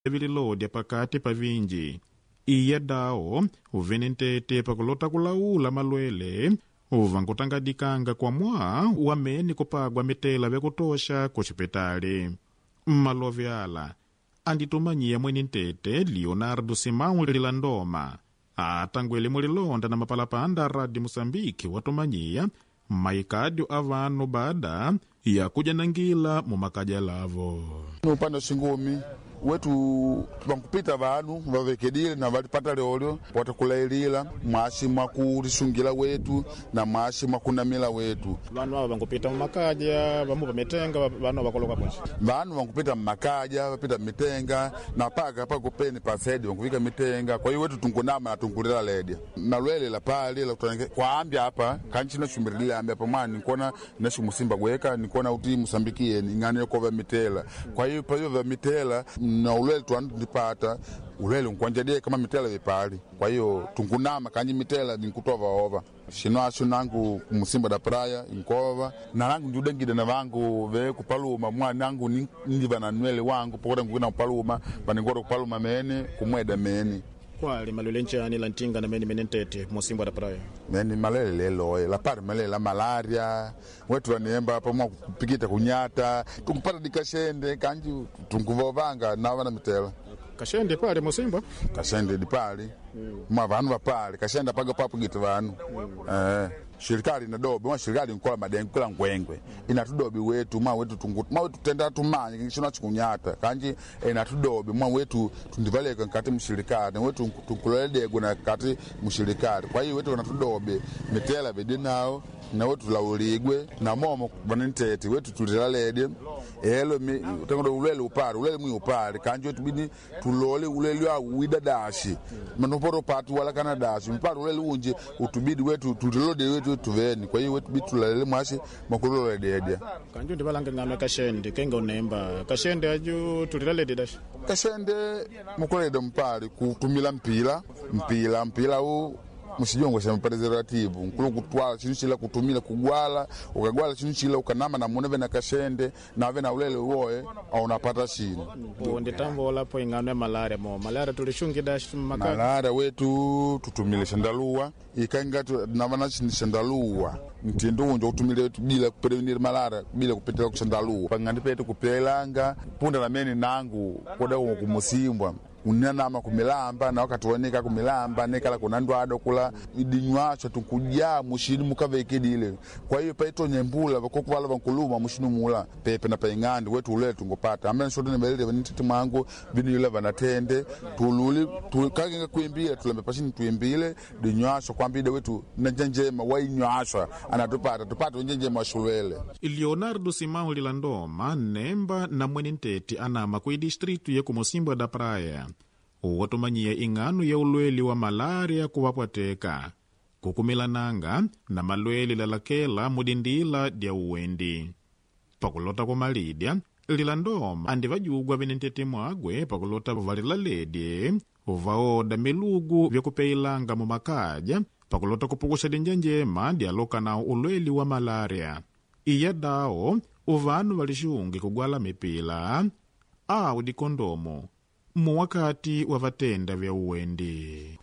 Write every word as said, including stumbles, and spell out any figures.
Vililodya pakati pa vinji iya dawo uvene ntete pakulota kulaula malwele uvankutangadikanga kwa mwaa wamene kupagwa mitela vyakutosha kuxipitali. Mmalove ala anditumanyiya mwene ntete Leonardo Simão Lilandoma atangwele mulilonda na mapalapanda a Rádio Moçambique watumanyiya maikadio a vanu baada ya kujanangila mumakaja lavo. Upande wa shingumi wetu vankupita vanu vavekedile na valipata lyolyo watakulailila mwashi mwakulishungila wetu na mwashi mwakunamila wetu. Vanu ava vankupita mumakaja vamu pamitenga vanu vakoloka kunji Vanu vankupita mmakaja vapita mmitenga na paka pakupeni pasedi vankuvika mitenga. Kwa hiyo wetu tunkunama na tunkulila ledya malwele la pali la kutange kwaambya apa kanchi nashumirilile ambya apa mwana nikuona nashumusimba gweka nikuona uti musambikie ing'ano yokova mitela. Kwa hiyo payo vya mitela na ulwele twanu tundipata ulwele nkwanjadie kama mitela vipali. Kwa hiyo tunkunama kanji mitela ninkutova ova shino asho nangu kumusimba da praia inkova na nangu ndiudengide na vangu ve kupaluma mwana nangu ni- ndiva na nwele wangu pokota ngukina kupaluma vaningota kupaluma mene kumweda mene kwali malwele nchani la ntinga na mene mene ntete musimbwa da praia mene malele leloye lapari malele la malaria wetu vaniemba apa mwa kupikita kunyata tunkupata dikashende kanji tunkuvovanga nava na mitela kashende pale musimbwa kashende dipali mwa vanu vapali kashende apaga papugita vanu eh shirikali inadobi mwa shirikali nkola madengo kila ngwengwe inatudobi wetu mwa wetu tungu mwa wetu tenda tumanye chino chikunyata kanji inatudobi mwa wetu tundivaleka nkati mshirikali na wetu tunkuloledego na kati mshirikali kwa hiyo wetu wanatudobi mitela vidinao na wetu lauligwe na momo vanintete wetu tulilalede elo mi- tangodo ulele upale ulele mwi upale kanji wetu bini tulole ulele awu widadashi manopoto patu wala kana dashi mpale ulele unje utubidi wetu tulilode wetu tuveni kwa hiyo wetu bidi tulalele mwashi makulolededya kanju ndivalanga ng'ano ya kashende kenga unemba kashende aju tulilaledi dashi kashende mukulede mpale kutumila mpila mpila mpila u mushijongo sha preservative nkulu kutwala chinu chila kutumila kugwala ukagwala chinu chila ukanama na muneve na kashende nave na ulele uwoe aunapata shinu nditambolapo ing'ano ya malaria mo malaria tulishungi dashi mumakaja malaria wetu tutumile shandaluwa ikanga navana shandaluwa mtindo unjo kutumile wetu bila kuprevenir malaria bila kupitila kushandaluwa pang'andi petu kupelanga punda namene nangu koda kumusimbwa unanama kumilamba na wakati wanika kumilamba nekala kuna ndwado kula idinywasha tunkujaa mushini mukavekedile kwa hiyo paitonya mbula vakokuvala vankuluma mushini mula pepe na paing'andi wetu ulele tungupata amene shote nivelele vanitete mwangu vinila vanatende tululi tu, kagenga kuimbile tulambe pashini tuimbile dinywasha kwambide wetu nanjenjema wainywasha anatupata tupate unjenjema washulwele Leonardo Simão Lilandoma nemba na mwene ntete anama ku distritu ya kumusimbwa da praia watumanyiya ing'ano ya ulweli wa malaria kuwapwateka kukumilananga na malwele lalakela mudindila dya uwendi pakulota kumalidya Lilandoma andi vajugwa vene ntete mwagwe pakulota valilaledye vaoda milugu vyakupeilanga mumakaja pakulota kupukusha dinja njema dyaloka nawo ulweli wa malaria iya dawo uvanu valixungi kugwala mipila awu dikondomo muwakati wa vatenda vya uwendi.